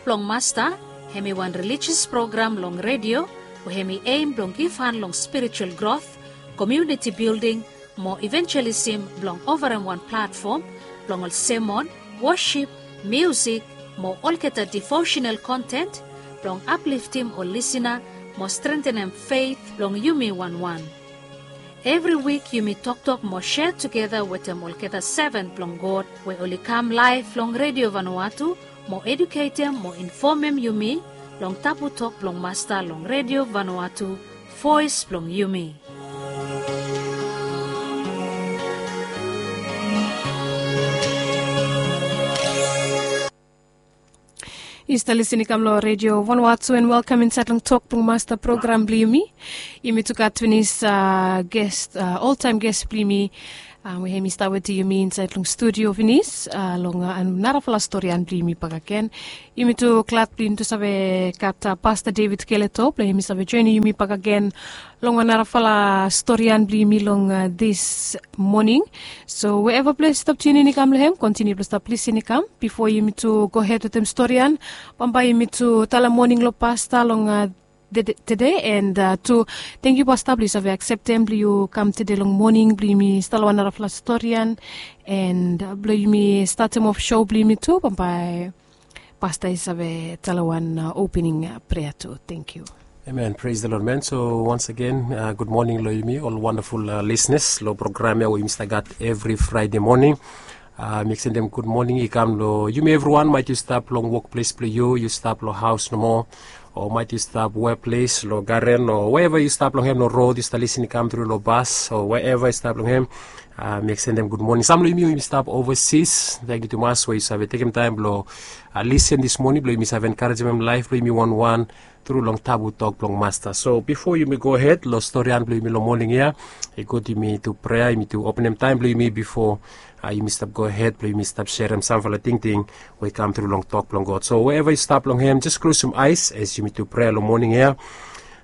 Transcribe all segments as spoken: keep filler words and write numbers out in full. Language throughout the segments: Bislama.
Blong Masta, hem i wan relijios program long redio we hem i eim blong givhan long spiritual grot, komuniti bilding, mo ivenjelisim blong ovarem wan platfom blong ol semon, wosip, miusik, mo olgeta devosenal kontent blong apliftim ol lisina mo strentenem feit blong yumi wanwan. Evri wik yumi toktok mo sea tugeta wetem olgeta seven blong God we oli kam laef long redio Vanuatu mo eduketem mo infomem yumi long tabu tok blong Masta long redio Vanuatu, voes blong yumi. Yu stap lisin i kam long redio Vanuatu and welkam insaed long tok blong Masta program blong yumi. Yumi tu gat finis ges, oltaem ges blong yumi, we hem i stap wetem yumi insaed long studio finis long narafala storian blong yumi bakagen. Yumi tu glad blong yumi tu save gat Pasta David Keleto blong hem i save joenem yumi bakagen long wan narafala storian blong yumi long dis moning. So weeva ples yu stap tiunin i kam long hem, kontiniu blong stap lisin i kam bifo yumi tu gohed wetem storian. Bambae yumi tu talem moning long Pasta long tede, and tu tangkiu Pasta blong yu save akseptem blong yu kam tede long moning blong yumi stap long wan narafala storian, and blong yumi statem of sou blong yumi tu bambae Pasta i save talem wan opening prea tu. Tangkiu. Amen. Praise the Lord, man. So once again, good morning long yumi ol wandaful lisenas long program ya we yumi stap gat evri Fraede moning. Mi eksendem gud moning i kam long yumi evriwan, maet yu stap long wokples blong yu, yu stap long haos nomo, o maet yu stap weples long garen, o weeva yu stap long hem, long rod yu stap lisin i kam tru, long bas, o weeva yu stap long hem. Mi eksendem gud moning. Sam long yumi we yumi stap ovasis, tangkiu tumas we yu save tekem taem blong lisin dis moning blong yumi save enkarejemem laef blong yumi wanwan tru long tabu tok blong Masta. So bifo yumi gohed long storian blong yumi long moning ya, i gud yumi tu prea, yumi tu openem taem blong yumi bifo yumi stap gohed blong yumi stap serem samfala tingting we i kam tru long tok blong God. So weeva yu stap long hem, jes klosum aes as yumi tu prea long moning ya.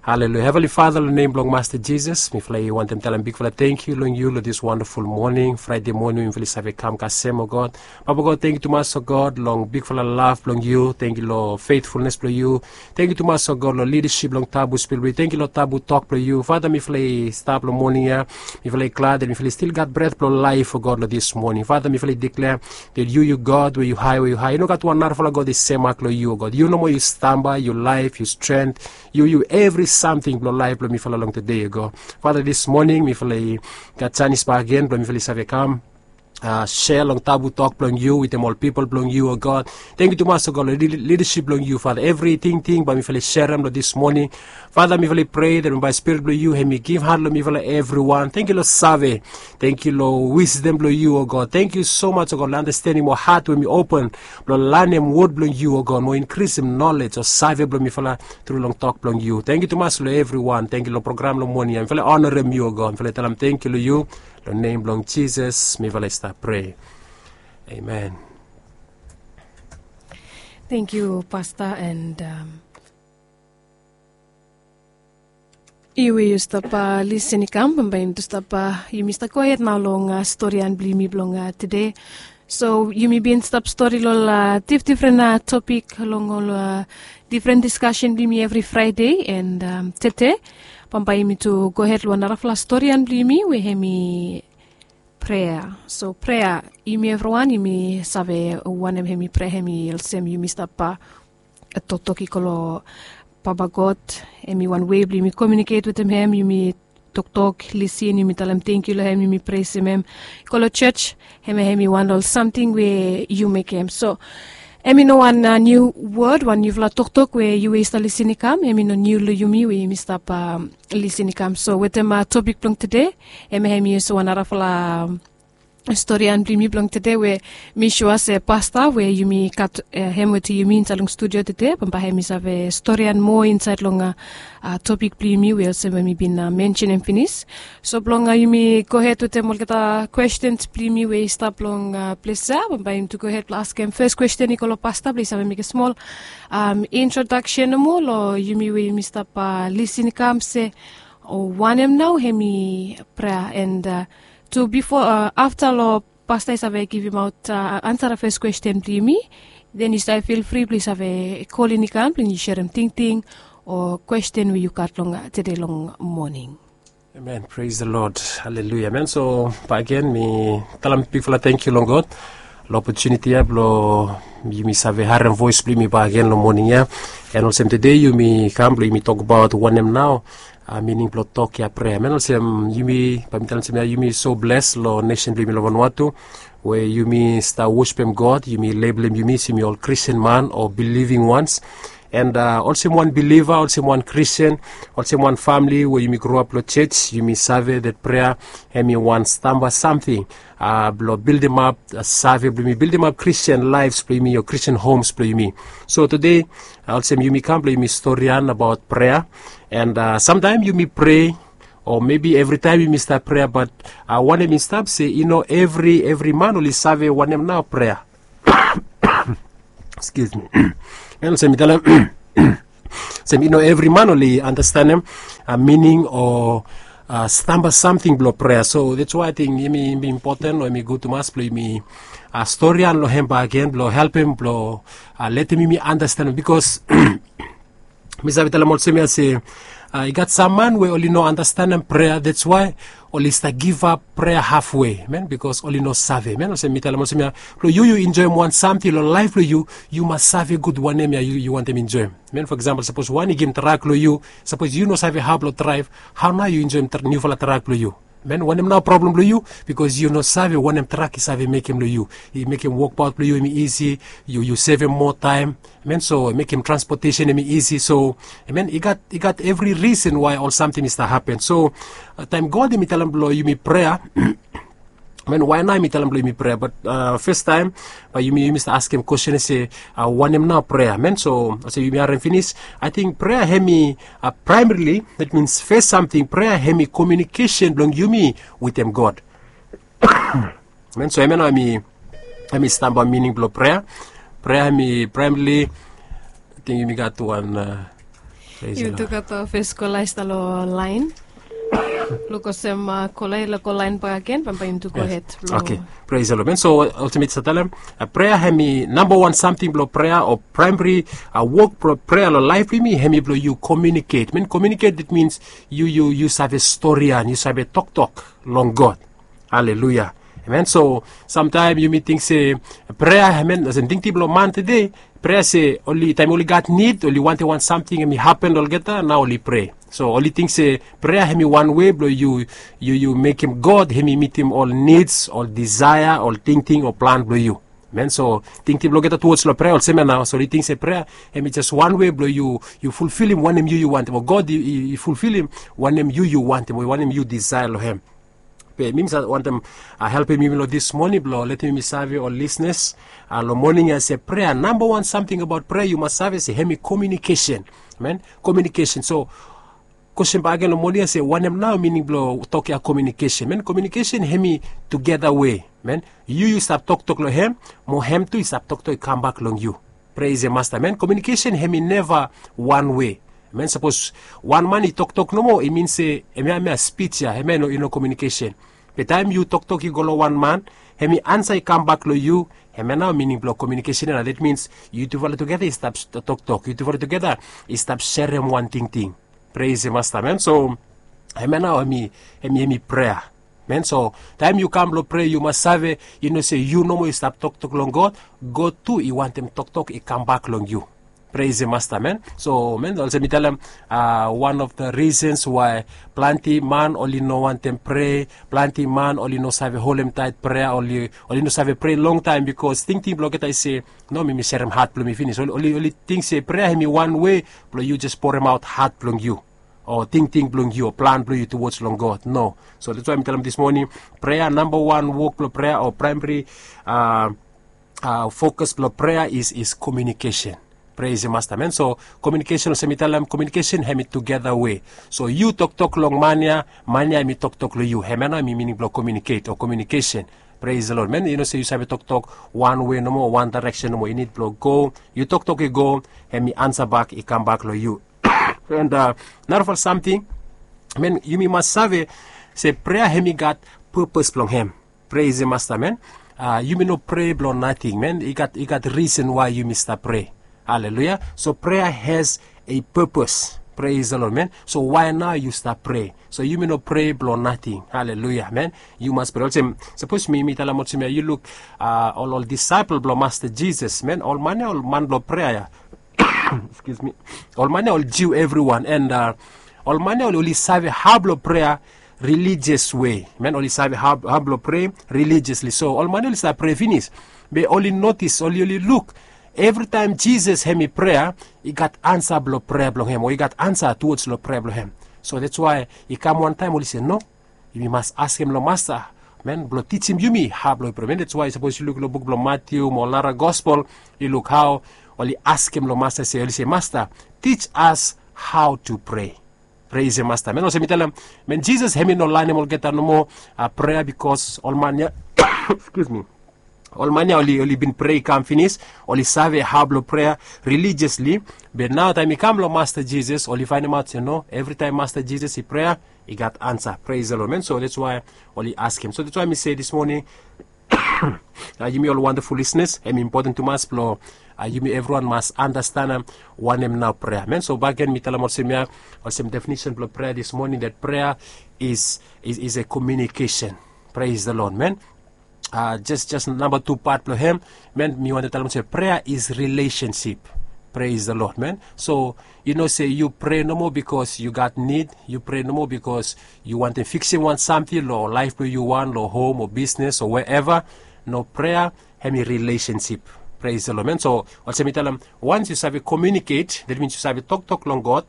Haleluya. Heavenly Father, long nem blong Masta Jisas, mifala i wantem talem bigfala tangkiu long yu long dis wandaful moning, Fraede moning we mifala i save kam kasem, o God. Papa God, tangkiu tumas, o God, long bigfala lav blong yu. Tangkiu long feitfulnes blong yu. Tangkiu tumas, o God, long lidasip blong tabu spil blong yu. Tangkiu long tabu tok blong yu. Fata, mifala i stap long moning ya, mifala i glad that mifala i stil gat bret blong laef, o God, long dis moning. Fata, mifala i diklea that yu, yu God we yu hae, we yu hae. I no gat wan narafala God i semak long yu, o God. Yu nomo yu stamba, yu laef, yu stren, yu, yu evri samting blong laef blong mifala long tede, o God. Fata, dis moning mifala i gat janis bakegen blong mifala i save kam sea long tabu tok blong yu wetem ol pipol blong yu, o God. Tangkiu tumas, o God, long lidasip blong yu, Fata. Evri tingting bae mifala i serem long dis moning, Fata, mifala i prea that bae Spirit blong yu hem i givhan long mifala evriwan. Tangkiu long save. Tangkiu long wisdom blong yu, o God. Tangkiu so much, o God, long andastenem o hat we hem i open blong lanem wod blong yu, o God, mo inkrisim nolej o save blong mifala tru long tok blong yu. Tangkiu tumas long evriwan. Tangkiu long program long moning ya. Mifala i onarem yu, o God. Mifala i talem tangkiu long yu. Long nem blong Jisas mifala i stap prea. Amen. Tangkiu Pasta, and yu we yu stap lisin i kam, bambae yumi tu stap, yumi stap gohed nao long storian blong yumi blong tede. So yumi bin stap stori long ol difdifren topik long ol difren diskasen blong yumi evri Fraede, and tede bambae yumi tu gohed long wan narafala storian blong yumi we hem i prea. So prea, yumi evriwan yumi save wanem hem i prea, hem i olsem yumi stap toktok i go long Papa God. Hem i wan wei blong yumi komiuniket wetem hem, yumi toktok, lisin, yumi talem tangkiu long hem, yumi presem hem. I go long jos, hemia hem i wan long ol samting we yu mekem. So hem i no wan niu wod, wan niufala toktok we yu we yu stap lisin i kam, hem i no niu long yumi we yumi stap lisin i kam. So wetem topik blong tede, hemia hem i olsem wan narafala storian blong yumi blong tede we mi sua se Pasta we yumi gat hem wetem yumi insaed long studio tede, bambae hem i save storian moa insaed long topik blong yumi we olsem we mi bin mensenem finis. So blong yumi gohed wetem olgeta kwestens blong yumi we i stap long ples ya, bambae yumi tu gohed blong askem fes kwesten i go long Pasta blong i save mekem smol introdaksen nomo long yumi we yumi stap lisin i kam se wanem nao hem i prea, and tu bifo, afta long Pasta i save givimaot ansa long fes kwesten blong yumi, Den yu save fil fri blong yu save kolin i kam blong yu serem tingting o kwesten we yu gat long tede long moning. Amen. Praise the Lord. Haleluya. Amen. So bagen mi talem bigfala tangkiu long God long opotuniti ya blong yumi save harem voes blong yumi bagen long moning ya. And olsem tede yumi kam blong yumi tokbaot wanem nao, mining blong tok ya prea. Amen. Olsem yumi bae mi talem olsem ya, yumi so bles long nesen blong yumi long Vanuatu, we yumi stap wosipem God, yumi lebelem yumi se yumi ol Kristin man o biliving wans. And olsem wan biliva, olsem wan Kristin, olsem wan famili we yumi groap long jos, yumi save dat prea hemi wan stamba samting blong bildimap save blong yumi, bildimap Kristin laefs blong yumi o Kristin homs blong yumi. So tede olsem yumi kam blong yumi storian abaot prea. And samtaem yumi prea, o mebi evritaem yumi stap prea, bat wanem i stap se i no evri evri man oli save wanem nao prea. Excuse me. Olsem mi talem, olsem i no evri man oli andastanem mining o stamba samting blong prea. So that's why I think hemi impoten o hemi gud tumas blong yumi storian long hem bagen blong helpem blong letem yumi andastanem, bikos mi save talem olsem ya se i gat sam man we oli no andastanem prea, that's why oli stap givap prea hafwe, amen, bikos oli no save, amen. Olsem mi talem olsem ya, blong yu yu enjoem wan samting long laef blong yu, yu mas save gud wanem ya yu wantem enjoem, amen. For example, sapos wan i givim trak long yu, sapos yu no save hao blong draev, hao nao yu enjoem niufala trak blong yu? Amen. Wanem nao problem blong yu? Bikos yu no save wanem trak i save mekem long yu. I mekem wokbaot blong yu hemi isi, yu yu sevem moa taem, amen, so i mekem transpotesen hemi isi. So amen, i gat i gat evri risen wae ol samting i stap hapen. So taem God hemi talem blong yumi prea, amen, wae nao hemi talem blong yumi prea? Bat fastaem bae yumi yumi stap askem kwesten se wanem nao prea, amen. So olsem yumi harem finis, ating prea hemi praemarili, that means fes samting, prea hemi komiunikesen blong yumi wetem God. Amen. So hemia nao hemi stamba mining blong prea. Prea hemi praemarili, ating yumi gat wan, yu tu gat fes kola i stap long laen. Luk olsem kola i laek go laen bakegen bambae yumi tu gohed. Okei. Praise the Lord, amen. So olsem mi stap talem, prea hemi namba wan samting blong prea o praemari wok blong prea long laef blong yumi hemi blong yu komiuniket. Amen. Komiuniket, it means yu yu yu save storian, yu save toktok long God. Haleluya. Amen. So samtaem yumi ting se prea, amen, olsem tingting blong man tede, prea se oli taem oli gat nid, oli wantem wan samting hemi hapen long olgeta, nao oli prea. So oli ting se prea hemi wan wei blong yu yu yu mekem God hemi mitim ol nids, ol disaea, ol tingting o plan blong yu. Amen. So tingting blong olgeta tuwods long prea olsem ya nao, so oli ting se prea hemi jes wan wei blong yu yu fulfilim wanem yu yu wantem, o God i fulfilim wanem yu yu wantem o wanem yu disaea long hem. Be mi mi save wantem helpem yumi long dis moning blong letem yumi save ol lisnas long moning ya se prea, namba wan samting abaot prea yu mas save se hemi komiunikesen. Amen. Komiunikesen. So kwesten bakegen long moning ya se wanem nao mining blong tok ya komiunikesen? Amen. Komiunikesen hemi tugeta wei. Amen. Yu yu stap toktok long hem, mo hem tu i stap toktok i kambak long yu. Praise the Master. Amen. Komiunikesen hemi neva wan wei. Amen. Sapos wan man i toktok nomo, i min se hemia hemia spij ya hemia i no komiunikesen. Be taem yu toktok i go long wan man, hemi ansa i kambak long yu, hemia nao mining blong komiunikesen ya nao. That means yutufala tugeta i stap toktok, yutufala tugeta i stap serem wan tingting. Praise the Master. Amen. So hemia nao hemi hemi prea. Amen. So taem yu kam blong prea yu mas save, yu no se yu nomo i stap toktok long God, God tu i wantem toktok i kambak long yu. Praise the Master. Amen. So amen, olsem mi talem, wan of the reasons wae plante man oli no wantem prea, plante man oli no save holemtaet prea, oli oli no save prea longtaem, bikos tingting blong olgeta i se, no, mi mi serem hat blong mi finis. Oli oli ting se prea hemi wan wei blong yu jes poremaot hat blong yu, o tingting blong yu, o plan blong yu tuwods long God. No. So that's why mi talem dis moning, prea, namba wan wok blong prea o praemari fokas blong prea is is komiunikesen. Praise the Master. Amen. So komiunikesen, olsem mi talem, komiunikesen hemi tugeta wei. So yu toktok long man ya, man ya hemi toktok long yu. Hemia nao hemi mining blong komiuniket o komiunikesen. Praise the Lord. Amen. Yu no se yu save toktok wan wei nomo, wan daereksen nomo, i nid blong go, yu toktok i go, hemi ansa bak i kambak long yu. And narafala samting, amen, yumi mas save se prea hemi gat pepes blong hem. Praise the Master. Amen. Yumi no prea blong nating, man. I gat risen wae yumi stap prea. Haleluya. So prea has a purpose. Prais the lord, man. So wae nao yu stap prea? So yumi no prea blong nating. Haleluya, man. Yu mas prea olsem, sapos mi mi talem olsem ya, yu luk ol ol disaepel blong masta jisas, man, ol man ya ol man blong prea ya. Ol man ya ol jiu evriwan and ol man ya oli save hao blong prea relijias we. Man, oli save hao blong prea relijiasli. So ol man ya oli save prea finis, be oli notis, oli oli luk evritaem jisas hem i prea, i gat ansa blong prea blong hem o i gat ansa tuwoj long prea blong hem. So dats wae i kam wantaem oli se no, yumi mas askem long masta, man, blong tijim yumi hao blong i prea. Man, dats wae sapos yu luk long buk blong matiu mo ol nara gospel, yu luk hao oli askem long masta se oli se masta, tij as hao tu prea. Prais hem masta, man. Olsem mi talem, man, jisas hem i no lanem olgeta nomo prea bikos ol man ya, ol man ya oli oli bin prea i kam finis, oli save hao blong prea relijiasli. Be nao taem i kam long masta jisas oli faenemaot se no, evritaem masta jisas i prea, i gat ansa. Prais the lord, man. So dats wae oli askem. So dats wae mi se dis moning, yumi ol wandaful lisnas, hem i impoten tumas blong yumi evriwan mas anastenem wanem nao prea, man. So bakegen mi talem olsem ya, olsem definisen blong prea dis moning, dat prea is is a komiunikesen. Prais the lord, man. Jes jes namba tu pat blong hem, man, mi wantem talem olsem prea is rilesensip. Prais the lord, man. So yu no se yu prea nomo bikos yu gat nid, yu prea nomo bikos yu wantem fiksim wan samting long laef blong yu wan long hom o bisnes o weeva. No, prea hem i rilesensip. Prais the lord, man. So olsem mi talem, wans yu save komiuniket, dat mins yu save toktok long god,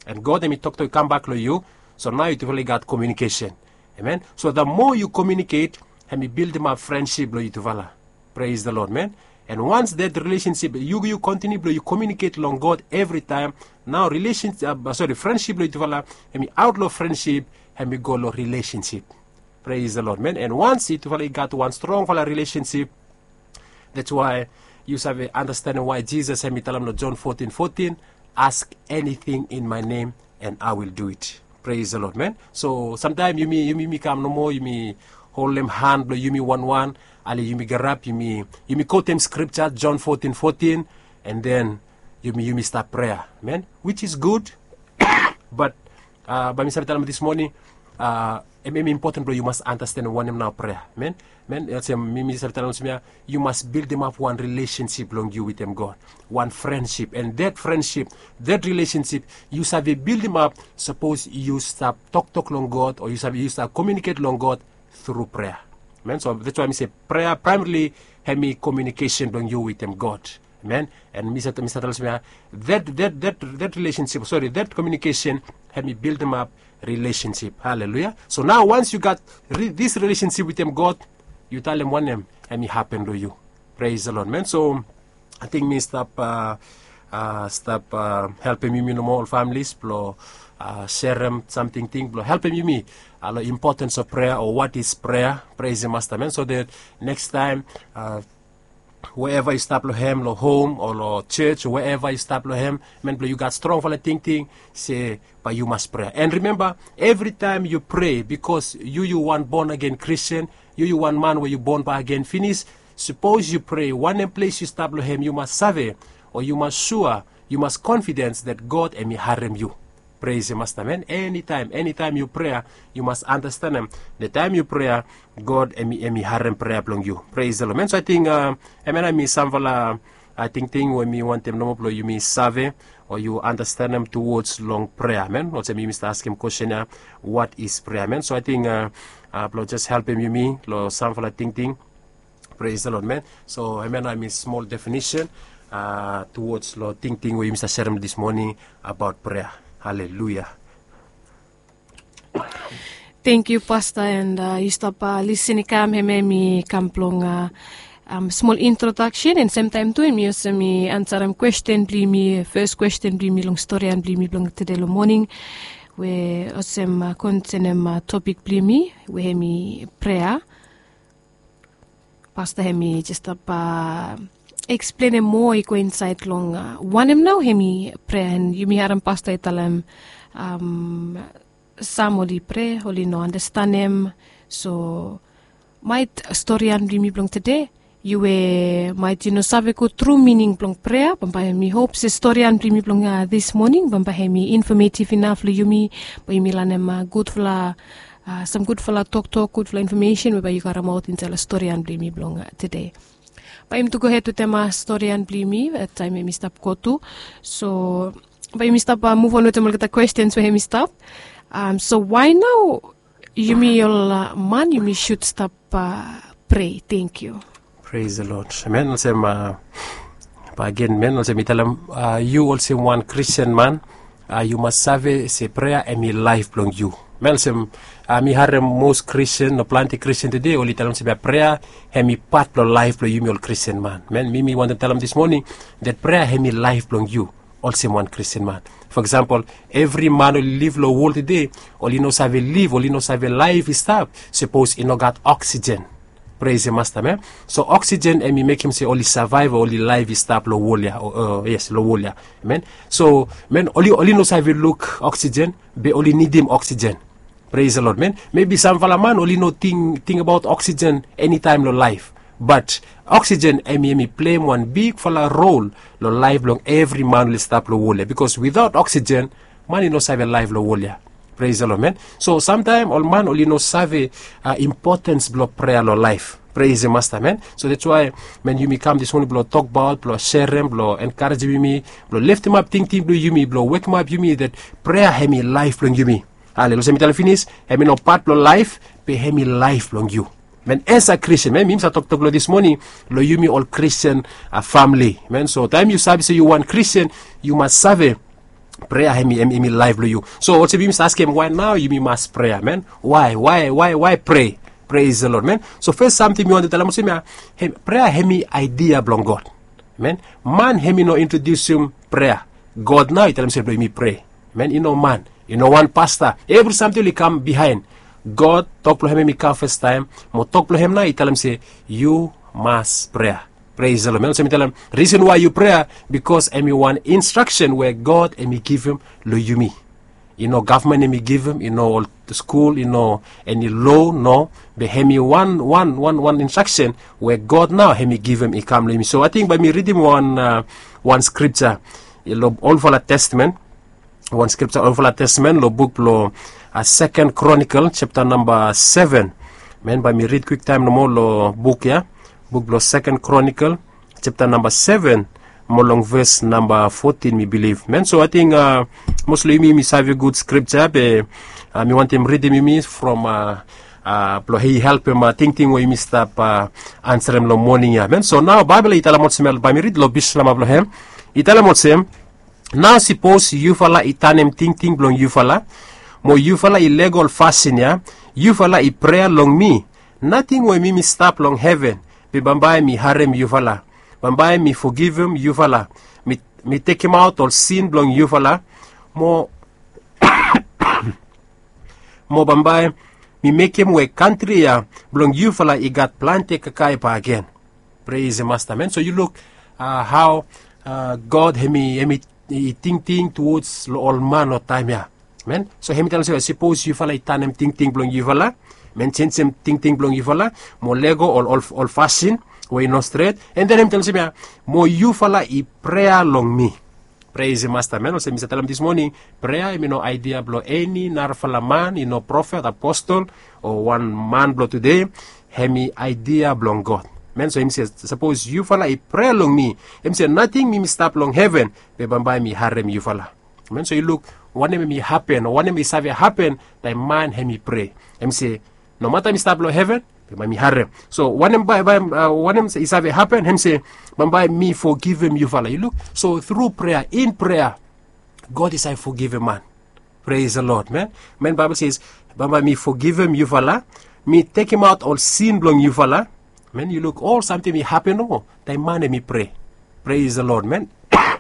and god hem i toktok i kambak long yu. So nao yutufala i gat komiunikesen. Amen. So the moa yu komiuniket, hem i bildimap frensip blong yutufala. Prais the lord, man. And wans dat rilesensip yu yu kontiniu blong yu komiuniket long god evritaem, nao rilesensip, sori, frensip blong yutufala hem i aot long frensip, hem i go long rilesensip. Prais the lord, man. And wans yutufala i gat wan strongfala rilesensip, dats wae yu save anastenem wae jisas hem i talem long jon fotin fotin, ask eniting in my name, and i will do it. Prais the lord, man. So samtaem yumi yumi yumi kam nomo yumi holem han blong yumi wanwan, ale yumi garap yumi yumi kotem skripja jon fotin fotin, and then yumi yumi stap prea, man, wich is gud. Bat bae mi save talem dis moning, em em impoten blong yu mas anastenem wanem nao prea, man. Man, olsem mi mi save talem olsem ya, yu mas bildimap wan rilesensip blong yu wetem god, wan frensip, and dat frensip, dat rilesensip yu save bildimap sapos yu stap toktok long god o yu save yu stap komiuniket long god tru prea. Man, so dats wae mi se prea praemarili hem i komiunikesen blong yu wetem god. Amen. And mi save talem olsem ya, dat dat dat dat rilesensip, sori, dat komiunikesen hem i bildimap rilesensip. Haleluya. So nao wans yu gat dis rilesensip wetem god, yu talem wanem hem i hapen long yu. Prais the lord, man. So ating mi stap stap helpem yumi nomo ol familis blong serem samting ting blong helpem yumi long impotens of prea o wat is prea. Prais hem masta, man. So dat nekstaem weeva yu stap long hem, long hom o long joj o weeva yu stap long hem, man, blong yu gat strongfala tingting se bae yu mas prea. And rimemba, evritaem yu prea, bikos yu yu wan bon agen kristian, yu yu wan man we yu bon bae agen finis, sapos yu prea wanem ples yu stap long hem yu mas save, o yu mas sua, yu mas konfidens dat god hem i harem yu. Prais hem masta, man. Enitaem enitaem yu prea, yu mas anastenem dat taem yu prea, god hem i harem prea blong yu. Prais the lord, man. So ating em ya nao mi samfala tingting we mi wantem nomo blong yumi save o yu anastenem tuwoj long prea, man. Olsem yumi stap askem kwestin ya, wat is prea, man? So ating blong jes helpem yumi long samfala tingting. Prais the lord, man. So em ya nao em i smol definisen tuwoj long tingting we yumi stap serem dis moning abaot prea. Haleluya. Tengkiu pasta, and yu stap lisin i kam, hem em i kam blong smol introdaksen, and semtaem tu em i olsem i ansarem kwestin blong yumi, fes kwestin blong yumi long storian blong yumi blong tude long moning, we olsem konsenem topik blong yumi, we hem i prea. Pasta hem i jes stap eksplenem moa i go insaed long wanem nao hem i prea, and yumi harem pasta i talem sam oli prea oli no anastenem. So Maet storian blong yumi blong tede, yu we maet yu no save gut tru mining blong prea, bambae mi hop se storian blong yumi blong dis moning bambae hem i infomeitiv inaf long yumi, bae yumi lanem gutfala, sam gutfala toktok, gutfala infomesen we bae yu karemaot insaed long storian blong yumi blong tede. Bae yumi tu gohed wetem storian blong yumi taem hem i stap go tu. So bae yumi stap muvon wetem olgeta kwestens we hem i stap. So wae nao yumi ol man yumi sud stap prea? Tenkyu. Pres the Lord. Amen. Olsem, bae agen, amen, olsem mi talem, yu olsem wan Kristin man, yu mas save se prea hem i laef blong yu. Amen. Olsem mi harem mos Kristin o plante Kristin tede oli talem se prea hem i pat blong laef blong yumi ol Kristin man. Amen. Mi mi wantem talem dis moning that prea hem i laef blong yu olsem wan Kristin man. For example, evri man oli liv long wol tede, oli no save liv, oli no save laef i stap sapos i no gat oksijen. Pres the Masta, amen. So oksijen hem i mekem se oli savaev, oli laef i stap long wol ya. Yes, long wol ya. Amen. So amen, oli oli no save luk oksijen, be oli nidim oksijen. Pres the Lord, amen. Mebi samfala man oli no ting abaot oksijen enitaem long laef. Bat oksijen hem i hem i pleim wan bigfala rol long laef blong evri man oli stap long wol ya, bikos witaot oksijen man i no save laef long wol ya. Pres the Lord, amen. So samtaem ol man oli no save impotens blong prea long laef. Pres the Masta, amen. So that's why, amen, yumi kam dis moning blong tokbaot, blong serem, blong enkarejem yumi, blong leftemap tingting blong yumi, blong wekemap yumi that prea hem i laef blong yumi. Ale, olsem mi talem finis, hem i no pat blong laef, be hem i laef blong yu. Amen. As a Kristin, amen, mi mi save toktok long dis moning long yumi ol Kristin famle. Amen. So taem yu save se yu wan Kristin, yu mas save prea hem i hem i laef blong yu. So olsem yumi save askem wae nao yumi mas prea, amen. Wae wae wae wae prea? Pres the Lord, amen. So fes samting mi wantem talem olsem ya, prea hem i aedia blong God. Amen. Man hem i no introdiusim prea. God nao i talem se blong yumi prea. Amen. I no man, i no wan pasta. Evri samting oli kam biaen. God, tok blong hem hem i kam fastaem, mo tok blong hem nao i talem se yu mas prea. Pres the Lord, amen. Olsem mi talem, risen wae yu prea, bikos hem i wan instraksen we God hem i givim long yumi. I no gavman hem i givim, i no ol skul, i no eni loa, no. Be hem i wan wan wan wan instraksen we God nao hem i givim i kam long yumi. So ating bae mi ridim wan wan skripja long Olfala Testamen. Wan skripja Olfala Testamen long buk blong Seken Kronikel japta namba seven. Amen. Bae mi rid kwiktaem nomo long buk ya, buk blong Seken Kronikel japta namba seven, mo long ves namba fotin mi bilif. Amen. So ating mos long yumi yumi save gud skripja, be mi wantem ridim yumi from blong i helpem tingting we yumi stap ansarem long moning ya. Amen. So nao Baebol i talem olsem ya, bae mi rid long bislama blong hem. I talem olsem, nao sapos yufala i tanem tingting blong yufala, mo yufala i lego ol fasin ya, yufala i prea long mi, nating we mi mi stap long heven, be bambae mi harem yufala. Bambae mi fogivim yufala. Mi tekemaot ol sin blong yufala, mo mo bambae mi mekem we kantri ya blong yufala i gat plante kakae bakegen. Pres the Masta, amen. So yu luk hao God hem i hem i tingting tuwods long ol man long taem ya. Amen. So hem i talem se sapos yufala i tanem tingting blong yufala, amen, jenjem tingting blong yufala, mo lego ol ol fasin we i no stret, and then hem i talem se ya, mo yufala i prea long mi. Pres the Masta, amen. Olsem mi save talem dis moning, prea hem i no aedia blong eni narafala man, i no profet, apostol, o wan man blong tude. Hem i aedia blong God. Amen. So hem i se sapos yufala i prea long mi, hem i se nating mi mi stap long heven, be bambae mi harem yufala. Amen. So yu luk wanem hem i hapen o wanem i save hapen taem man hem i prea. Hem i se, nomata mi stap long heven, be bae mi harem. So wanem bae bae wanem i save hapen, hem i se, bambae mi fogivim yufala. Yu luk, so tru prea, in prea, God i save fogivim man. Pres the Lord, amen. Amen. Baebol se bambae mi fogivim yufala, mi tekemaot ol sin blong yufala. Amen. Yu luk ol samting i hapen nomo taem man hem i prea. Pres the Lord, amen.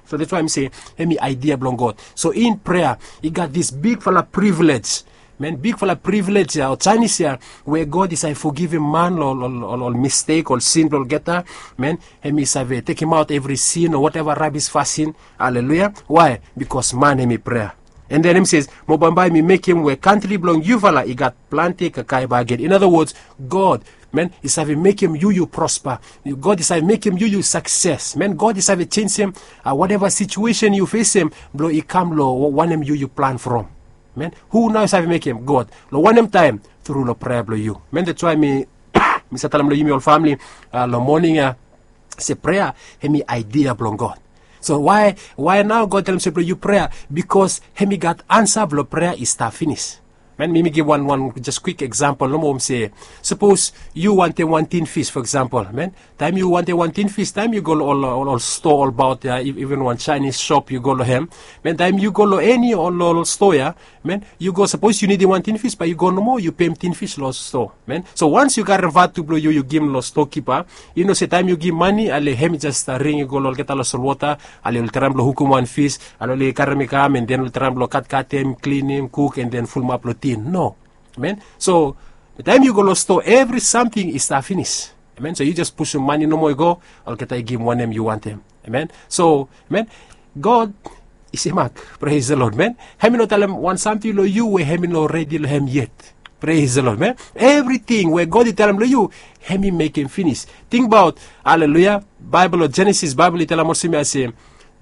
So that's why mi se hem i aedia blong God. So in prea i gat dis bigfala privilej, amen, bigfala privilej ya o janis ya, we God i save fogivim man long ol mistek, ol sin blong olgeta. Amen. Hem i save tekemaot evri sin o wateva rabis fasin. Aleluya. Wae? Bikos man hem i prea. And then hem says, mo bambae mi mekem we kantri blong yufala i gat plante kakae bakegen. In other words, God, men, i save mekem yu yu prosper. God i save mekem yu yu sukses. Men, God i save jenjem uh, whatever situation yu fesem blo i kam lo wanem yu yu plan from. Men, hu nao i save mekem? God. Lo wanem taem? Tru lo prea blo yu. Men, that's why mi mi sa talem lo yumi ol famili uh, lo moning ya se prea hem i idea blong God. So why why nao God telem se blo yu prea? Bikos hem i gat ansa blo prea i stap finis. Men, mi mi givim wan wan jes kwik eksampol nomo, se sapos yu wantem wan tin fis, fo eksampol, men, taem yu wantem wan tin fis, taem yu go lo ol ol sto olbaot ya, iven wan Chinese shop yu go lo hem, men, taem yu go lo eni ol ol sto ya, men, yu go, sapos yu nidim wan tin fis bae yu go nomo yu pem tin fis lo sto. Men, so wans yu karem vatu blo yu yu givim lo stokipa, yu no se taem yu givim mane ale hem i jes ring i go lo olgeta lo solwota, ale oli traem blo hukum wan fis, ale oli karem i kam and then oli traem blo katkatem, klinim, kuk and then fulumap lo tin. No. Men, so taem yu go lo sto evri samting i stap finis. Men, so yu jes pusum mane nomo i go, olgeta i givim wanem yu wantem. Amen. So, men, God i semak. Praise the Lord, men. Hem i no talem wan samting lo yu we hem i no redi lo hem yet. Praise the Lord, men. Evriting we God i talem lo yu, hem i mekem finis. Tingbaot, aleluya, Baebol lo Jenesis, Baebol i talem olsem ya se,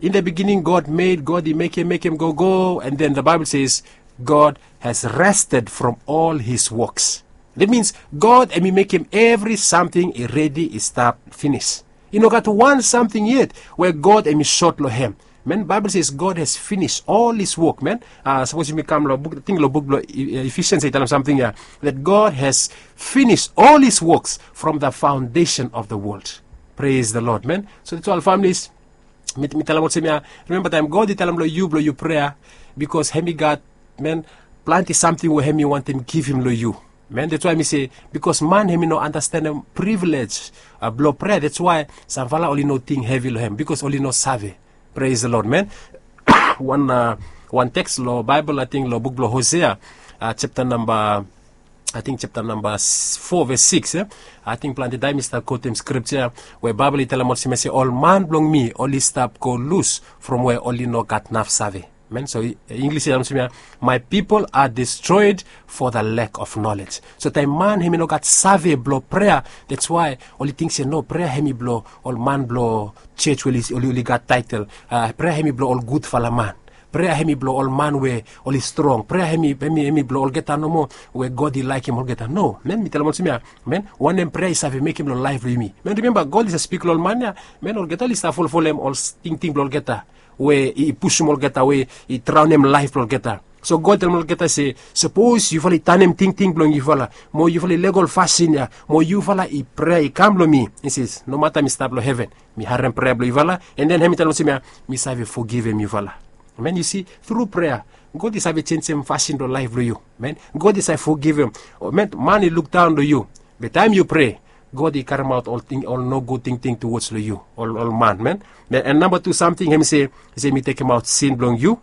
in the beginning God made, God i mekem mekem gogo, and then the Bible says God has rested from all his works. That means God hem i mekem evri samting i redi, i stap finis. I no gat wan samting yet we God hem i sot lo hem. Men, Baebol says God has finished all his work, men. Uh, sapos yumi kam lo buk, ting lo buk blo Ephesians i talem samting ya, that God has finished all his works from the foundation of the world. Praise the Lord, men. So that's all, families. Mi talem olsem ya, rimemba taem God i talem lo yu blo yu prea, bikos hem i gat, men, plante samting we hem i wantem givim lo yu. Men, that's why mi se, bikos man hem i no andastanem privilej uh, blo prea, that's why samfala oli no ting hevi lo hem, bikos oli no save. Praise the Lord, men. Wan uh, wan teks lo Baebol, ating lo buk blo Hosea, uh, chapta namba, ating chapta namba fo ves sikis, eh? Ating plante taem mi stap kotem skripja we Baebol i talem olsem ya se ol man blong mi oli stap go lus from we oli no gat naf save. Men, so Inglis i talem olsem ya, my people are destroyed for the lack of knowledge. So taem man hem i no gat save blo prea, that's why oli ting se no, prea hem i blo ol man blo jej we oli oli gat taetel. Uh, prea hem i blo ol gudfala man. Prea hem i blo ol man we oli strong. Prea hem i hem i hem i blo olgeta nomo we God i laekem olgeta. No, men, mi talem olsem ya, men, wanem prea i save mekem lo laef blo yumi? Men, rimemba God i save spik lo ol man ya, men, olgeta oli stap folofolem ol tingting blo olgeta we i pusum olgeta we i draonem laef blo olgeta. So God i talem olgeta se, sapos yufala i tanem tingting blong yufala mo yufala i lego ol fasin ya mo yufala i prea i kam lo mi, i se, nomata mi stap lo heven, mi harem prea blo yufala, and then hem i talem olsem ya, mi save fogivem yufala. Men, yu si, tru prea God i save jenjem fasin lo laef blo yu. Men, God i save fogivem. Men, man i lukdaon lo yu. Be taem yu prea, God i karemaot ol ting, ol nogud tingting tuwods lo yu, ol ol man, men. Men, and namba tu samting hem i se, i se mi tekemaot sin blong yu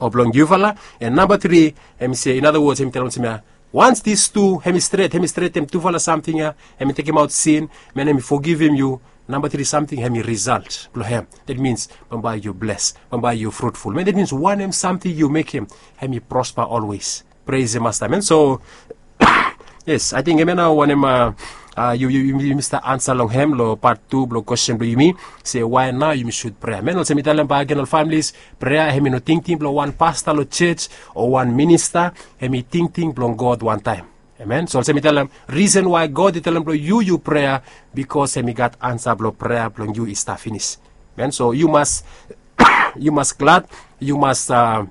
o blong yufala. And namba tri, hem i se, in other words, hem i talem olsem ya, wans dis tu hem i stret, hem i stretem tufala samting ya, hem i tekemaot sin, men, hem i fogivem yu, namba tri samting hem i risalt blo hem. That means bambae yu bles, bambae yu frutful, men. That means wanem samting yu mekem, hem i prospa olwes. Praise the Master, men. So yes, ating hemia nao wanem uh, uh, yu yu yu yu mista ansa long hem lo pat tu blo kwestin blo yumi, se wae nao yumi sud prea. Men, olsem mi talem bakegen, ol familis, prea hem i no tingting blo wan pasta lo jej o wan minista. Hem i tingting blong God wantaem. Amen. So olsem mi talem, risen wae God i talem blo yu yu prea, bikos hem i gat ansa blo prea blong yu i stap finis. Men, so yu mas yu mas glad, yu mas uh,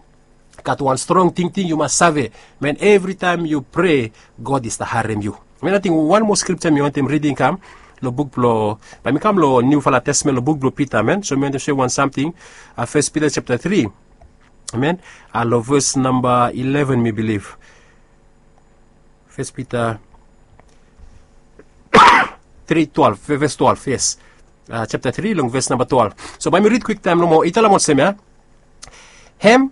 gat wan strong tingting, yu mas save, men, evritaem yu prea, God i stap harem yu. Men, ating wan moa skripja mi wantem ridim kam lo buk blo, bae mi kam lo Niufala Testamen, lo buk blo Pita, men. So mi wantem soem wan samting, uh, Fes Pita japta tri, men, uh, lo ves namba ileven, mi bilif. Fes Pita tri twelve, ves twelve, yes. Uh, japta tri long ves namba twelve. So bae mi rid kwiktaem nomo. I talem olsem ya, hem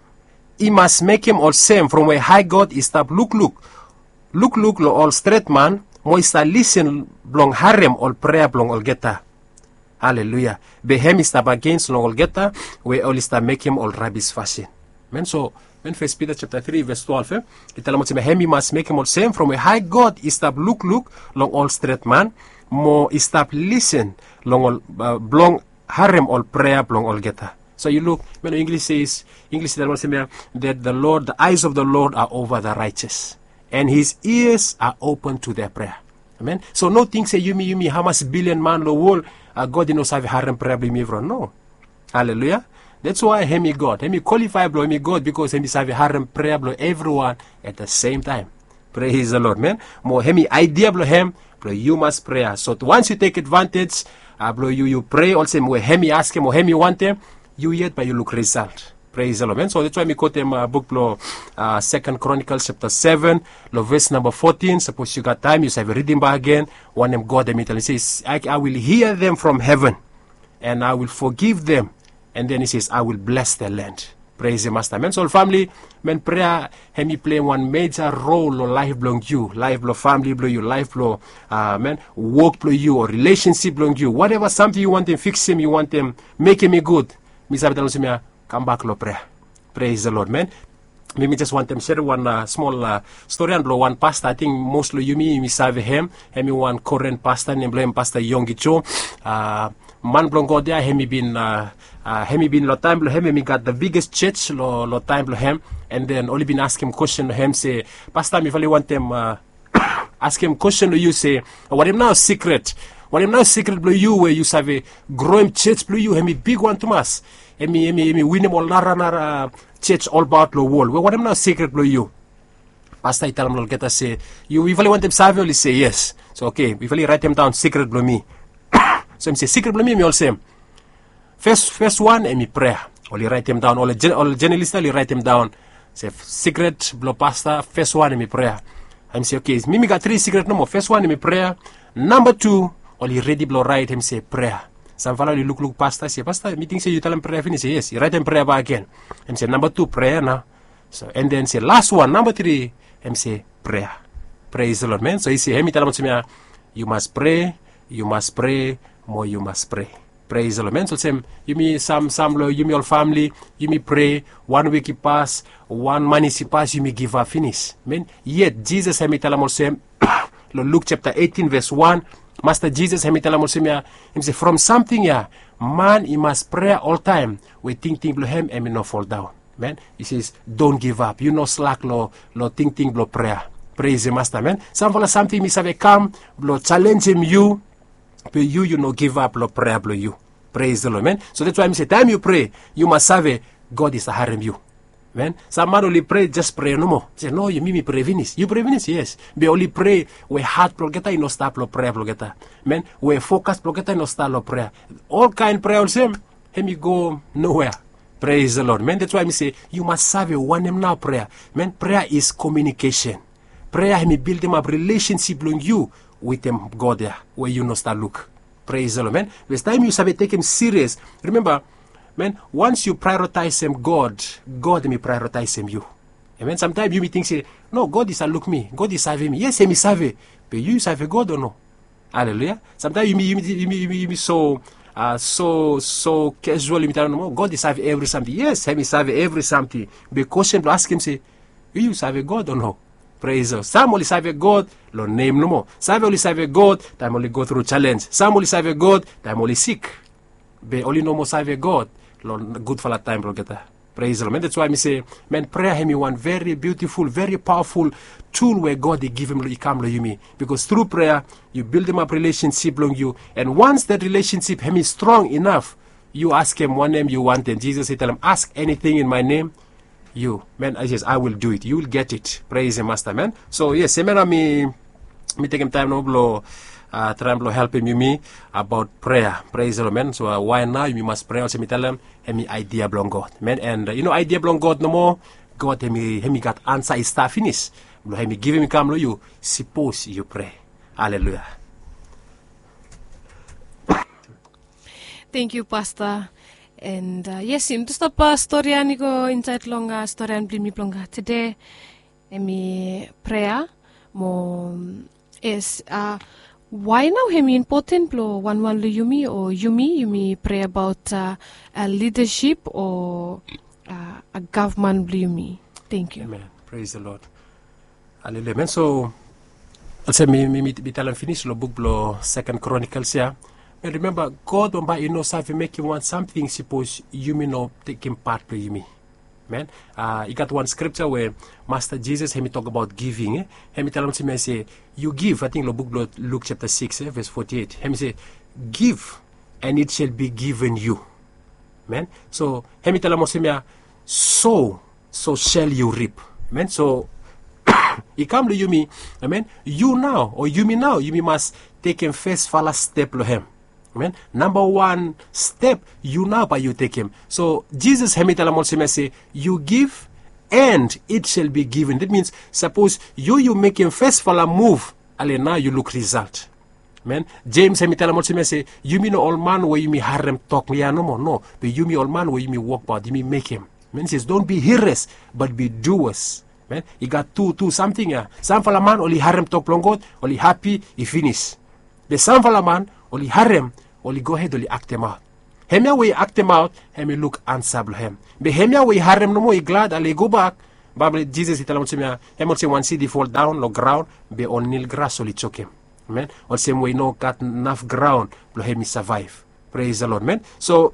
i mas mekem olsem from we hae God i stap lukluk lukluk lo ol stretman mo i stap lisen blong harem ol prea blong olgeta. Aleluya. Be hem i stap agens long olgeta we oli stap mekem ol rabis fasin. Men, so First Peter chapter three verse twelve, eh? I talem olsem, hem i mas mekem olsem from we hae God i stap lukluk long ol stret man, mo i stap lisen long ol, uh, blong harem ol prea blong olgeta. So yu luk, men, English says, English i talem olsem ia, that the Lord, the eyes of the Lord are over the righteous, and his ears are open to their prayer. Amen. So no ting se yumi, yumi hamas bilion man long wol, uh, God i no save harem prea blong yumi evriwan. No. Haleluya. That's why hem i God. Hem i qualify blong hem i God, because hem i save harem prea blong evriwan at the same time. Praise the Lord, man. Mo hem i idea blong hem blong yu mas prea. So once you take advantage, uh, blong yu, yu prea olsem we hem i askem o hem i wantem, yu yet bae yu luk result. Praise the Lord, man. So that's why mi kotem, uh, buk blong, uh, Second Chronicles chapter seven, long verse number fourteen. Sapos yu gat taem, yu save ridim bak agen wanem God hem i talem. He says, I, I will hear them from heaven, and I will forgive them. And then he says, I will bless the land. Praise the Master. Men, so ol famili, men, prea hem i plei wan meja rol long laef blong yu, laef blong famili blong yu, laef blong, uh, men, wok blong yu o relationship blong yu. Whatever samting yu wantem fiksim, yu wantem mekem i gud, mi save talem olsem ia, kambak long prea. Praise the Lord, men. Mi, mi jes wantem serem wan, uh, smol, uh, storian blong wan pasta. Ating mos long yumi, yumi save hem. Hem i wan koren pasta, nem blong hem Pasta Yonggi Jo. Uh, man blong God ia, hem i bin, uh, uh, hem i bin long taem blong hem, hem i gat the biggest church long, long taem blong hem. And then oli bin askem kwesten long hem se, Pasta, mifala i wantem, uh, askem kwesten long yu se, wanem nao sikret? Wanem nao sikret blong yu we yu save groem church blong yu hem i bigwan tumas? Hem i, hem i, hem i winim ol naranara church olbaot long wol. We wanem nao sikret blong yu? Pasta i talem long olgeta se, yu, yufala i wantem save? Oli se yes. So okay, yufala i raetemdaon sikret blong mi. So hem i se, sikret blong mi hem i olsem, fes, fes wan hem i prea. Oli raetemdaon, ol, ol jenalis ia oli raetemdaon se sikret blong pasta, fes wan hem i prea. Hem i se, okay, mi, mi gat tri sikret nomo. Fes wan hem i prea. Namba tu, oli redi blong raet, hem i se prea. Samfala oli lukluk pasta, se, Pasta, mi ting se yu talem prea finis. Yes, i raetem prea bak agen. Hem i se namba tu, prea nao. So, and then se las wan, namba tri, hem i se prea. Praise the Lord, men. So i se hem i talem olsem ia, yu mas prea, yu mas prea, mo yu mas prea. Praise the Lord, men. So olsem yumi, sam, sam long yumi ol famili, yumi prea, wan wik i pas, wan manis i pas, yumi givap finis, men. Yet Jisas hem i talem olsem, long Luk chapter eighteen verse one, Masta Jisas hem i talem olsem ia, hem i se from samting ia man i mas prea oltaem, we tingting blong hem hem i no foldaon. Men, he says, don't give up. Yu no slak long, long tingting blong prea. Praise the Master, men. Samfala samting mi save kam blong jalenjem yu, be yu, yu no givap long prea blong yu. Praise the Lord, men. So that's why mi se taem yu prea, yu mas save God i save harem yu. Men, sam man oli prea, jes prea nomo. Se, no, yu, mi, mi prea finis. Yu prea finis, yes. Be oli prea we hat blong olgeta i no stap long prea blong olgeta. Men, we fokas blong olgeta i no stap long prea. Olkaen prea olsem, hem i go nowhere. Praise the Lord, men. That's why mi se yu mas save wanem nao prea. Men, prea is communication. Prea hem i bildimap relationship blong yu wetem God ia we yu no stap luk. Praise the Lord, men. Bikos taem yu save tekem sirias, remember, men, once yu prioritaesem God, God hem i prioritaesem yu. Amen. Samtaem yumi ting se, no, God i save luk mi, God i save mi. Yes, hem i save. Be yu, yu save God o no? Haleluya. Samtaem yumi, yumi, yumi, yumi, yumi so, uh, so, so casual, yumi talem nomo, God i save evri samting. Yes, hem i save evri samting. Be kwestin blong askem se, yu, yu save God o no? Praise the Lord. Sam oli save God long nem nomo. Save oli save God taem oli go tru jalenj. Sam oli save God taem oli sik. Be oli no moa save God long gudfala taem blong olgeta. Praise the Lord, man. That's why mi se, man, prea hem i wan very beautiful, very powerful tool we God i givim, i kam long yumi. Bikos tru prea yu bildimap relationship blong yu. And once that relationship hem i strong enough, yu askem wanem yu wantem. Jisas i talem, ask anything in my name, yu, man, I says, I will do it. You will get it. Praise the Master, man. So yes, hemia nao mi, mi tekem taem nao blong, uh, traem blong helpem yumi abaot prea. Praise the Lord, man. So, uh, wae nao yumi mas prea olsem mi talem, hem i aedia blong God, man. And, uh, yu no aedia blong God nomo, God hem i, hem i gat ansa i stap finis blong hem i givim i kam long yu, sapos yu prea. Haleluya. Tangkiu, Pasta. And, uh, yes, yumi tu stap, uh, storian i go insaed long, uh, storian blong yumi blong, uh, tede. Hem i prea, mo, yes, uh, wae nao hem i impoten blong wanwan long yumi o yumi, yumi prea abaot, uh, uh, lidasip o, uh, uh, gavman blong yumi? Thank you. Amen. Praise the Lord. Haleluya, men. So olsem mi, mi, mi, mi talem finis long buk blong Second Chronicles ya. Men rimemba, God bambae i no save mekem wan samting sapos yumi no tekem pat blong yumi. Men, uh, i gat wan scripture we Master Jesus hemi tok abaot giving, eh? Hemi talem olsem ya se, you give, ating long buk blong Luke chapter six, eh, verse forty-eight. Hemi se, give and it shall be given you. Men, so hemi talem olsem ya, sow, so shall you reap. Men, so i kam long yumi. Amen. Yu nao o yumi nao, yumi mas tekem fesfala step long hem. Amen. Namba wan step yu nao bae yu tekem. So Jesus hemi talem olsem ya se, you give and it shall be given. That means sapos yu, yu mekem fesfala move, ale nao yu luk result. Men, James hemi talem olsem ya se, yumi no ol man we yumi harem tok ya nomo, no, be yumi ol man we yumi wokbaot, yumi mekem. Men, says, don't be hearers, but be doers. Men, i gat tu, tu samting ya. Samfala man oli harem tok blong God, oli hapi, i finis. Be samfala man oli harem, oli gohed oli aktemaot. Hemia we i aktemaot, hemi luk ansa blong hem. Be hemia we i harem nomo, i glad, ale i gobak. Baebol, Jesus i talem olsem ya, hem olsem wan sid i foldaon long graon, be ol nil gras oli jokem. Amen. Olsem we i no gat naf graon blong hem i savaev. Praise the Lord, men. So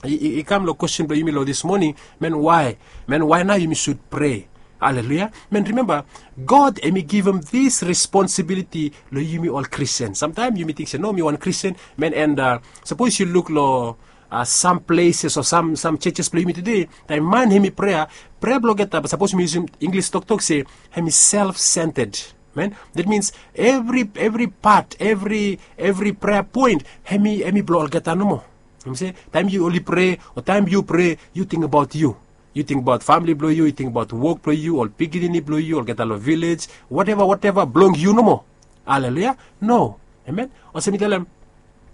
i, i, i kam long kwestin blong yumi long this morning, men, why? Men, why nao yumi should pray? Haleluya. Men, rimemba, God hemi givim this responsibility long yumi ol Christian. Samtaem yumi ting se, no, mi wan Christian, men, and uh, sapos yu luk long uh, some places o some, some churches blong yumi tede, taem man hemi prea, prea blong olgeta, be sapos mi yusum English toktok se hemi self-centered. Men, that means every, every part, every, every prayer point, hemi, hemi blong olgeta nomo. Yumi se, taem yu oli prea o taem yu prea, yu ting abaot yu. Yu ting abaot famili blong yu, yu ting abaot wok blong yu, ol pikinini blong yu, olgeta long vilej, whatever, whatever blong yu nomo. Haleluya. No. Amen. Olsem mi talem,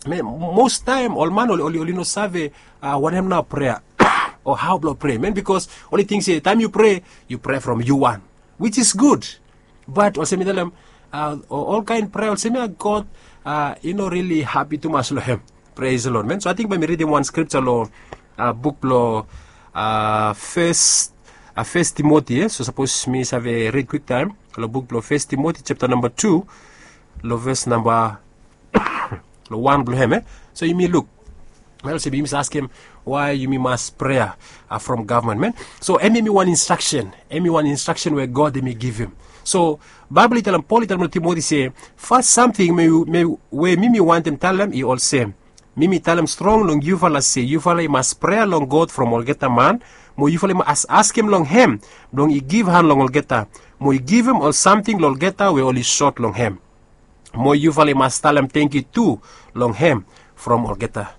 men, most taem ol man oli, oli, oli no save uh, wanem nao prea o hao blong prea, men, bikos oli ting se taem yu prea, yu prea from yu wan, which is good. But olsem mi talem, uh, ol kaen prea olsem ya, God uh, i no rili hapi tumas long hem. Praise the Lord, men. So ating bae mi ridim wan scripture long uh, buk blong uh, First, uh, First Timothy, eh? So sapos mi save rid kwiktaem long buk blong First Timothy chapter namba tu, long ves namba long wan blong hem, eh? So yumi luk. Baebol se yumi save askem, why yumi mas prea uh, from gavman, men? So hemi, hemi wan instraksen, hemi wan instraksen we God hemi givim. So Baebol i talem, Pol i talem long Timoti se, fas samting me, me, we mi, mi wantem talem i olsem, mi, mi talem strong long yufala se yufala i mas prea long God from olgeta man, mo yufala i mas askem long hem blong i givhan long olgeta, mo i givim ol samting long olgeta we oli sot long hem. Mo yufala i mas talem tangkiu tu long hem from olgeta.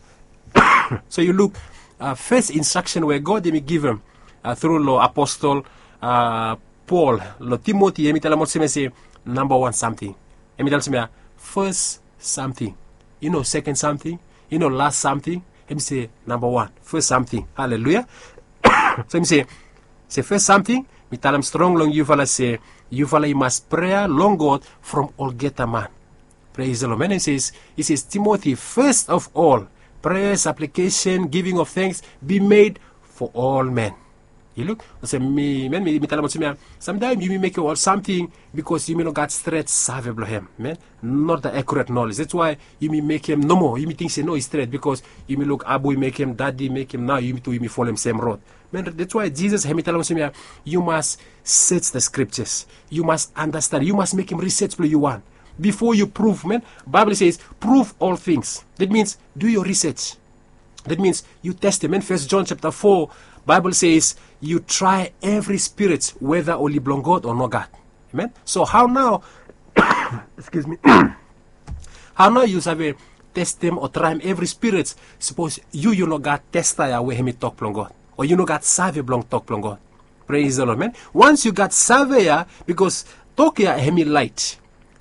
So yu luk, uh, fes instraksen we God hemi givim uh, tru long aposol uh, Pol long Timoti, hemi talem olsem ya se, namba wan samting. Hemi talem olsem ya, fes samting. I no seken samting, i no las samting. Hemi se namba wan, fes samting. Haleluya. So hemi se, se fes samting, mi talem strong long yufala se yufala i mas prea long God from olgeta man. Praise the Lord. Men, he says, he says, Timothy, first of all, prayer, supplication, giving of thanks be made for all men. Yu luk, olsem mi, men, mi, mi talem olsem ya, samtaem yumi mekem ol samting bikos yumi no gat stret save blong hem, men, not the accurate knowledge. That's why yumi mekem nomo, yumi ting se no, i stret, bikos yumi luk abu i mekem, dadi i mekem, nao yumi tu yumi folem sem rod. Men, that's why Jesus hemi talem olsem ya, you must search the scriptures, you must understand, you must mekem research blong yu wan before you prove, men. Baebol says, prove all things. That means, do your research. That means you testem. First John chapter four, Baebol says, you try every spirit whether oli blong God o nogat. Amen. So hao nao, excuse me, hao nao yu save testem o traem evri spirit sapos yu, yu no gat testa ya we hemi tok blong God, o yu no gat save blong tok blong God? Praise the Lord, men. Once yu gat save ya, bikos tok ya hemi laet.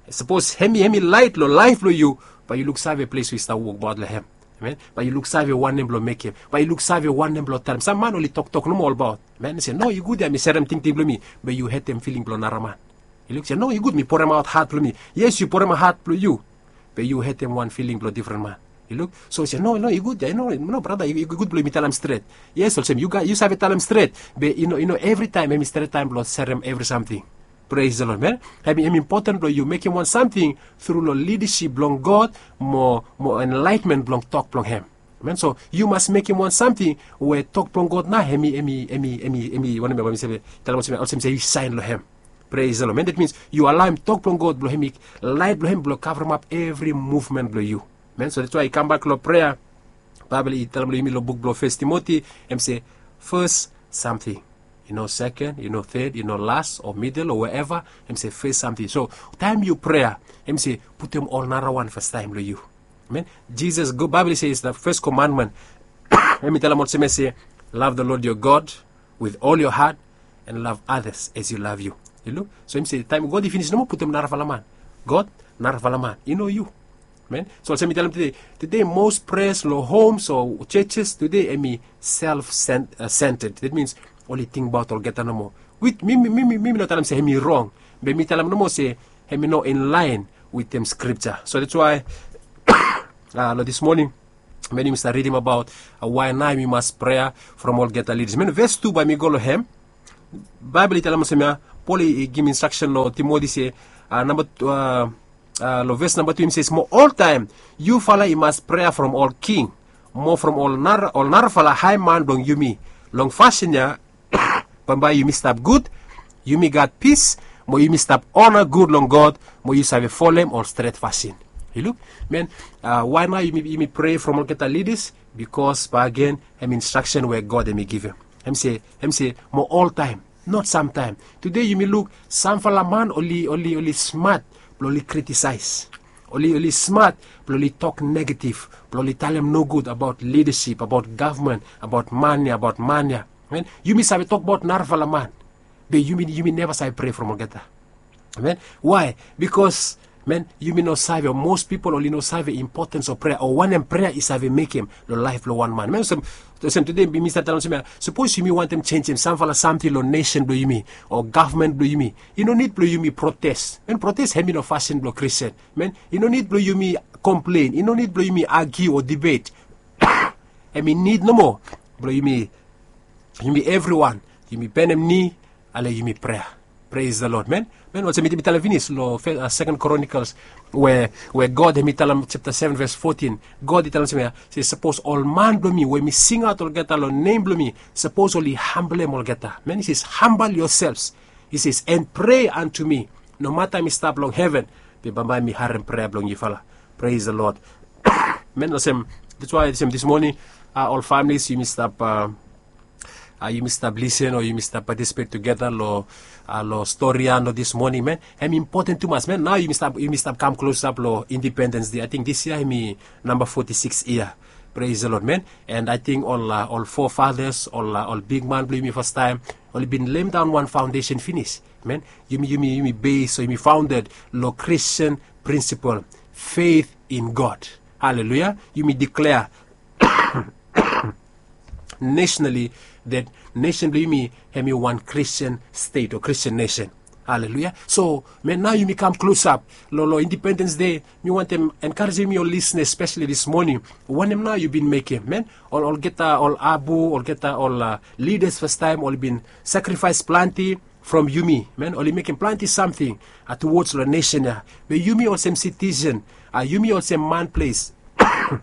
Sapos hemi, hemi laet long laef blong yu, bae yu luksave ples we yu stap wokbaot long hem. Amen. Bae yu luksave wanem blong mekem. Bae yu luksave wanem blong talem. Sam man oli toktok nomo olbaot. Men se, no, i gud ya mi serem tingting blong mi. Be yu hetem filing blong nara man. Yu luk se, no, i gud mi poremaot hat blong mi. Yes, yu poremaot hat blong yu. Be yu hetem wan filing blong difren man. Yu luk? So yu se, no, no, i gud ya, i no, no, brata, i gud blong yumi talem stret. Yes, olsem yu save talem stret, be i no, i no evritaem hem i stret taem blong serem evri samting. Praise the Lord, man. Hem i impoten blong yu mekem wan samting tru long lidasip blong God, mo mo enlaetmen blong tok blong hem. Man, so yu mas mekem wan samting we tok blong God nao hem i, hem i, hem i, hem i wanem ya, bae mi save talem olsem ya, olsem se yu saen long hem. Praise the Lord, man. That means yu alaoem tok blong God blong hem i laet blong hem blong kavremap evri muvmen blong yu. Man, so that's why i kambak long prea. Baebol i talem long yumi long buk blong Fes Timoti, hem se fes samting. I no seken, i no ted, i no las o midel o wherever. Hem se fes samting. So taem yu prea, hem se putum ol narawan fastaem long yu. Amen. Jisas, Baebol i se, is the first commandment. Hem i talem olsem ya se, love the Lord your God with all your heart and love others as you love you. Yu luk? So hem se taem God i finis, no moa putum narafala man. God, narafala man, i no yu. Amen. So olsem mi talem tede, tede most prayers long homes o churches tede hem i self centered. That means oli tingbaot olgeta nomo. Wit mi, mi, mi, mi no talem se hem i rong, be mi talem nomo se hem i no in line wetem scripture. So that's why long this morning, man, yumi stap ridim abaot why nao yumi mas prea from olgeta leaders. Man, ves tu bae mi go long hem. Baebol i talem olsem ya, Pol i givim instraksen long Timoti se, namba long ves namba tu hem i se, mo oltaem yufala i mas prea from ol king, mo from ol narafala haeman blong yumi. Long fasin ya bambae yumi stap gud, yumi gat pis, mo yumi stap ona gud long God, mo yu save folem ol stret fasin. Yu luk? Man, why nao yumi prea from olgeta leaders? Bikos bae agen hem instraksen we God hem i givim. Hem se, hem se mo oltaem, not samtaem. Tede yumi luk samfala man oli, oli, oli smat blong oli kritisaes. Oli, oli smat blong oli tok negativ, blong oli talem nogud abaot lidasip, abaot gavman, abaot man ya, abaot man ya. Yumi save tokbaot narafala man, be yumi, yumi neva save prea from olgeta. Amen. Why? Bikos, man, yumi no save, o most pipol oli no save impotens of prea, o wanem prea i save mekem long laef blong wan man. Man, olsem tede mi stap talem olsem ya, sapos yumi wantem jenjem samfala samting long nesen blong yumi o gavman blong yumi, i no nid blong yumi protes. Man, protes hem i no fasin blong Kristin. Man, i no nid blong yumi komplen, i no nid blong yumi agiu o dibet. Hem i nid nomo blong yumi, yumi evriwan, yumi benem ni, ale yumi prea. Praise the Lord, man. Man, olsem mi talem finis long Second Chronicles, we, we God hem i talem, japta seven ves fotin, God i talem olsem ya se, sapos ol man blong mi we mi singaot olgeta long nem blong mi, sapos oli hamblem olgeta. Man, i se, humble yourselves, i se, and pray unto me. Nomata mi stap long heven, be bambae mi harem prea blong yufala. Praise the Lord. Man, olsem, that's why olsem this morning, ol families yumi stap, yumi stap lisen o yumi stap patisipet tugeta long, long stori ya long this morning, man, hem i impoten tumas. Man, nao yumi stap, yumi stap kam klosap long Independens Dei. Ating this yia hem i namba foti sikis yia. Praise the Lord, man. And ating ol, ol forefathers, ol, ol bigman blong yumi fastaem, oli bin lemdaon wan faondesen finis. Man, yumi, yumi, yumi base o yumi faonded long Kristin prinsipol, faith in God. Haleluia. Yumi diklea nationally that nesen blong yumi hem i wan Kristin stet o Kristin nesen. Haleluia. So, man, nao yumi kam klosap long, long Independens Dei. Mi wantem enkarejem yumi ol lisnas, espeseli this morning. Wanem nao yu bin mekem, man? Ol, olgeta ol abu, olgeta ol lidas fastaem oli bin sakrifaes plante from yumi, man, oli mekem plante samting towards long nesen ya. Be yumi olsem sitisen, yumi olsem man ples,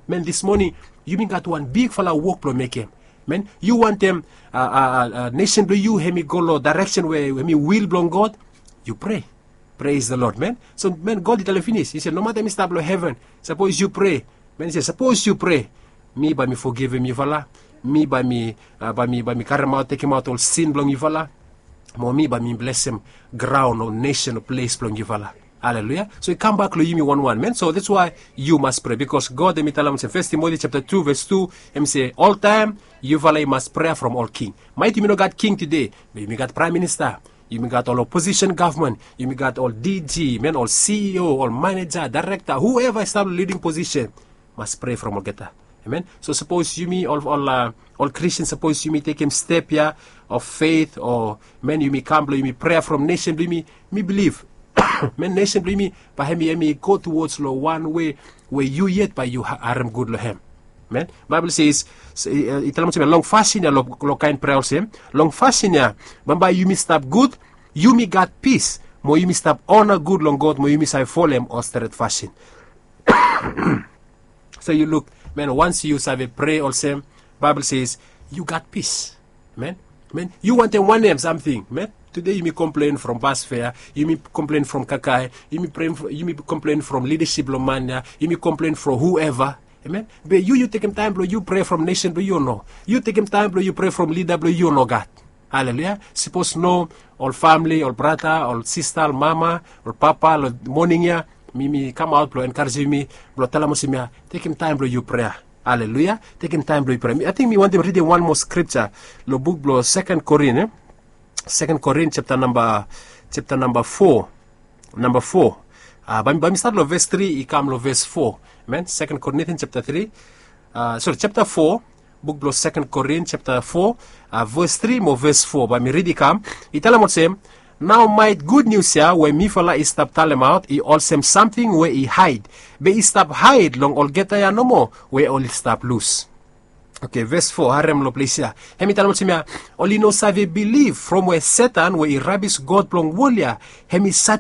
man, this morning yumi gat wan bigfala wok blong mekem. Man, yu wantem nesen blong yu hem i go long daereksen we hem i wil blong God, yu prea. Praise the Lord, man. So, man, God i talem finis, i se, nomata mi stap long heven, sapos yu prea, man, i se, sapos yu prea, mi bae mi fogivim yufala. Mi bae mi, bae mi, bae mi karemaot, tekemaot ol sin blong yufala. Mo mi bae mi blesem graon o nesen o ples blong yufala. Haleluia. So i kambak long yumi wanwan, man. So that's why yu mas prea, bikos God hem i talem olsem, Fes Timoti japta tu ves tu, hem i se, oltaem yufala i mas prea from ol king. Maet yumi no gat king tede, be yumi gat praem minista, yumi gat ol oposisen gavman, yumi gat ol D G, man, ol C E O, ol maneja, daerekta, whoever i stap long liding posisen, mas prea from olgeta. Amen. So sapos yumi ol, ol, ol Kristin, sapos yumi tekem step ya of faith, o, man, yumi kam blong yumi prea from nesen blong yumi, mi bilif Men, nesen blong yumi bae hem i go tuwods long wan wei we yu yet bae yu harem gud long hem. Men, Baibel se i talem olsem ya, long fasin ya, long kaen prea olsem, long fasin ya bambae yumi stap gud, yumi gat pis, mo yumi stap ona gud long God, mo yumi save folem ol stret fasin. So yu luk, men, wans yu save prea olsem, Baibel se yu gat pis. Men, men, yu wantem wanem samting, men? Tude yumi komplen from bas fea, yumi komplen from kakae, yumi komplen from lidasip blong man ya, yumi komplen from hueva. Amen. Be yu yu tekem taem blong yu prea from nesen blong yu o no? Yu tekem taem blong yu prea from lida blong yu o no, God? Haleluya. Sipos no, ol famle, ol brata, ol sista, ol mama, ol papa, long moning ya, mi mi kamaot blong enkarejem yumi, blong talem olsem ya, tekem taem blong yu prea. Haleluya. Tekem taem blong yu prea. Ating mi wantem ridim wan moa skripta long buk blong Seken Korin, e? Seken Korin japta namba, japta namba fo. Namba fo. Bae mi stat long ves tri i kam long ves fo. Amen. Seken Korin japta tri, sori, japta fo, buk blong Seken Korin japta fo, ves tri mo ves fo, bae mi ridim i kam. I talem olsem, nao maet gud nius ya we mifala i stap talemaot i olsem samting we i haed, be i stap haed long olgeta ya nomo we oli stap lus. Oke, ves fo, harem long ples ya. Hem i talem olsem ya, oli no save bilif from we Setan we i rabis god blong wol ya, hem i